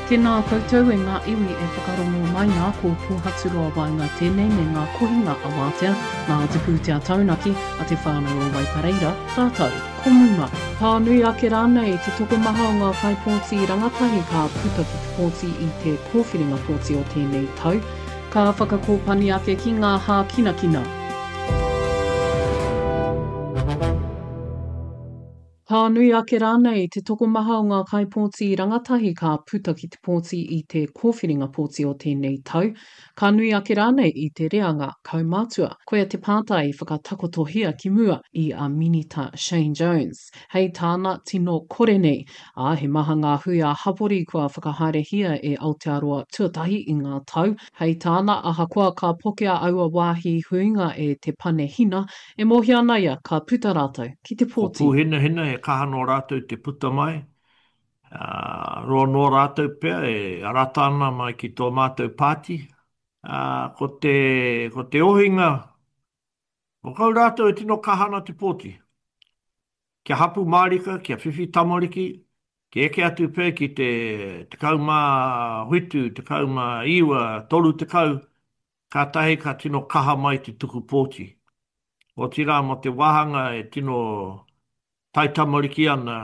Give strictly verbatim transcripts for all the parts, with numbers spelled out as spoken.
Tēnā koutou e ngā iwi e whakarongo mai nā ko Pōhaturoa Waenga tēnei me ngā kohinga awātea nā te pūtea taunaki a te whānau o Waipareira rātou ko Muma. Ka nui ake rānei te tokomaha o ngā kaipōti rangatahi ka puta ki te pōti i te kōwhiringa pōti o tēnei tau, ka whakakōpani ake ki ngā hākinakina. Ka nui ake rānei te tokomaha o ngā kaipōti rangatahi ka puta ki te pōti i te kōwhiringa pōti o tēnei tau, ka nui ake rānei i te reanga kaumātua. Koia te pātai i whakatakotohia ki mua i a Minita Shane Jones. Hei tāna tino kore nei, ā, he maha ngā hui ā-hapori kua whakahaerehia e Aotearoa Tuatahi i ngā tau. Hei tāna, ahakoa ka pokea aua wāhi huinga e te pane hina, e mōhio ana ia ka puta rātou ki te Ko pōti. Pūhinahina e kaha nō rātou te puta mai, ā, roa noa rātou pea e rata ana mai ki tō mātou pāti. Ā, ko te, ko te ohinga, ko kau rātou e tino kaha ana te pōti. Kia hapū mārika, kia whiwhi tamariki, kia eke atu pea ki te tekau mā whitu, tekau mā iwa, toru tekau, kātahi ka tino kaha mai te tuku pōti. Otirā mō te wāhanga e tino taitamariki ana,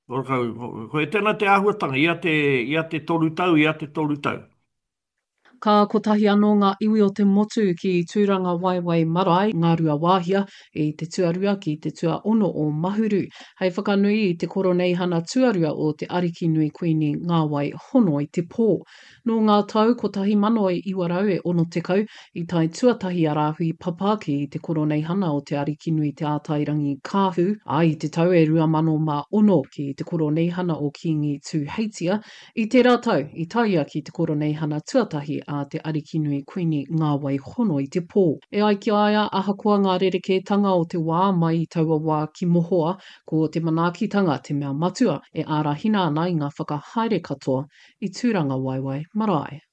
ko tēnā te āhuatanga, ia te, ia te toru tau, ia te toru tau. Ka kotahi anō ngā iwi o te motu ki Tūrangawaewae Marae, Ngāruawāhia, i te tuarua ki te tuaono o Mahuru, hei whakanui i te koroneihana tuarua o te Arikinui Kuini Ngāwai Hono i te Pō. Nō ngā tau kotahi mano e iwa rau e ono tekau, i tae tuatahi a Rāhui Papa ki te koroneihana o Te Arikinui Te Ātairangikaahu, ā, i te tau e rua mano mā ono ki te koroneihana o Kīngi Tūheitia. I tērā tau, i tae ia ki te koroneihana tuatahi a Te Arikinui Kuini Ngāwai Hono i te Pō. E ai ki a ia, ahakoa ngā rerekētanga o te wā mai i taua wā ki mohoa, ko te manaakitanga te mea matua e ārahina ana i ngā whakahaere katoa i Tūrangawaewae Marae.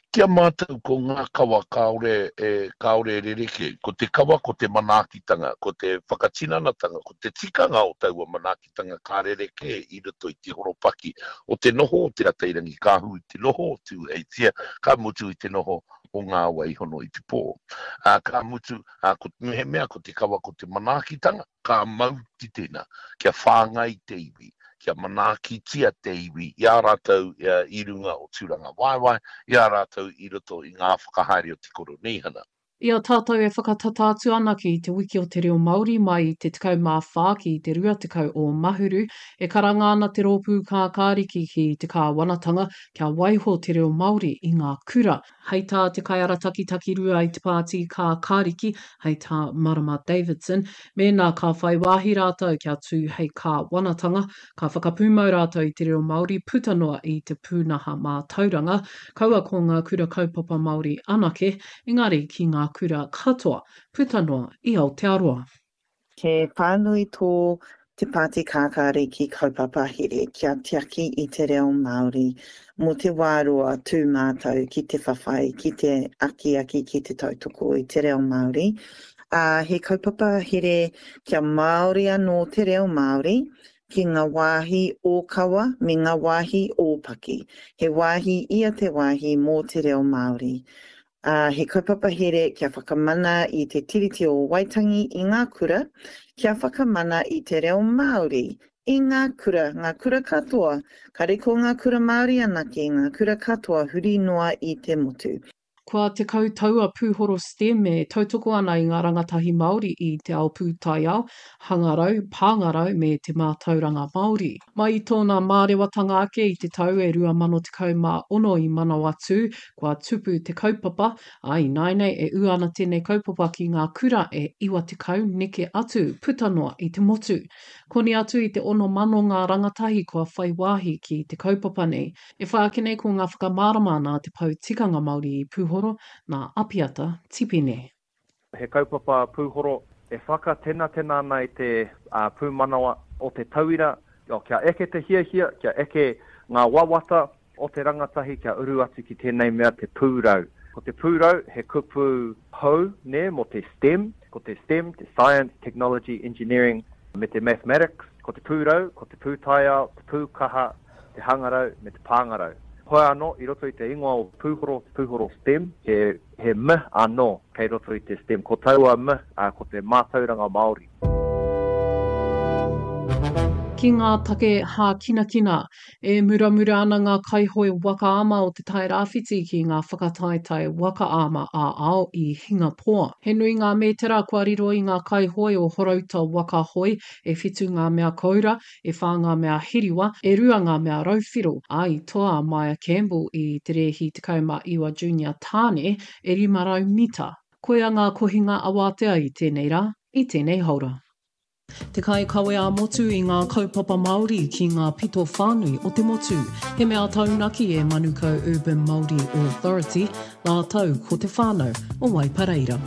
Ki a mātou ko ngā kawa kāore e, kāore e rerekē. Ko te kawa ko te manaakitanga, ko te whakatinanatanga, ko te tikanga o taua manaakitanga ka rerekē i roto i te horopaki o te noho o Te Atairangikaahu, i te noho o Tūheitia, ka mutu i te noho o Ngā Waihono i te pō. Ā, ka mutu, ā, ko, mehemea ko te kawa ko te manaakitanga, ka mau ki tēnā, kia whāngai te iwi, kia manaakitia te iwi i a rātou i runga o Tūrangawaewae, i a rātou i roto i ngā whakahaere o te Koroneihana. I a tātou e whakatata atu ana ki Te Wiki o te Reo Māori mai i te tekau mā whā ki te rua tekau o Mahuru, e karanga ana te Rōpū Kākāriki ki te kāwanatanga kia waiho te reo Māori i ngā kura. Hei tā te kaiarataki takirua i te pāti Kākāriki, hei tā Marama Davidson, mēnā ka whai wāhi rātou kia tū hei kāwanatanga, ka whakapūmau rātou i te reo Māori puta noa i te pūnaha mātauranga, kaua ko ngā kura kaupapa Māori anake, engari ki ngā kura katoa puta noa i Aotearoa. He whānui tō Te Pāti Kākāriki kaupapa here kia tiaki i te reo Māori mō te wā roa tū mātou ki te whawhai, ki te akiaki, ki te tautoko i te reo Māori. Ā, he kaupapa here kia Māori anō te reo Māori ki ngā wāhi ōkawa me ngā wāhi ōpaki. He wāhi ia te wāhi mō te reo Māori. Ā, he kaupapa here kia whakamana i te Tiriti o Waitangi i ngā kura, kia whakamana i te reo Māori i ngā kura, ngā kura katoa, kare ko ngā kura Māori anake, ngā kura katoa huri noa i te motu. Kua tekau tau a Pūhoro STEM e tautoko ana i ngā rangatahi Māori i te ao pūtaiao, hangarau, pāngarau me te mātauranga Māori. Mai i tōna mārewatanga ake i te tau e rua mano tekau mā ono i Manawatū, kua tupu te kaupapa, ā, ināianei e ū ana tēnei kaupapa ki ngā kura e iwa tekau neke atu puta noa i te motu. Koni atu i te ono mano ngā rangatahi kua whai wāhi ki te kaupapa nei. E whai ake nei ko ngā whakamārama nā te Pou Tikanga Māori i Pūhoro, nā Apiata Tipene. He kaupapa pūhoro e whakatenatena ana i te pūmanawa o te tauira, kia eke te hiahia, kia eke ngā wawata o te rangatahi kia uru atu ki tēnei mea te pūrau. Ko te pūrau he kupu hou, nē, mō te STEM, ko te STEM, te Science, Technology, Engineering me te Mathematics. Ko te pūrau, ko te pūtaiao, te pūkaha, te hangarau me te pāngarau. Hoi anō, i roto i te ingoa o Pūhoro, te Pūhoro STEM, he, he M anō kei roto i te STEM. Ko taua M, ā, ko te mātauranga Māori. Ki ngā take hākinakina, e muramura ana ngā kaihoe waka ama o Te Tai Rāwhiti ki ngā whakataetae waka ama ā-ao i Hingapoa. He nui ngā mētera kua riro i ngā kaihoe o Horouta Waka Hoe, e whitu ngā mea koura, e whā ngā mea hiriwa, e rua ngā mea rauwhiro, ā, i toa a Maia Campbell i te rēhi tekau mā iwa junior tāne, e rima rau mita. Koia ngā kohinga awātea i tēnei rā, i tēnei haora. Te kaikawe ā-motu i ngā kaupapa Māori ki ngā pito whānui o te motu. He mea taunaki e Manukau Urban Māori Authority rātou ko te whānau o Waipareira.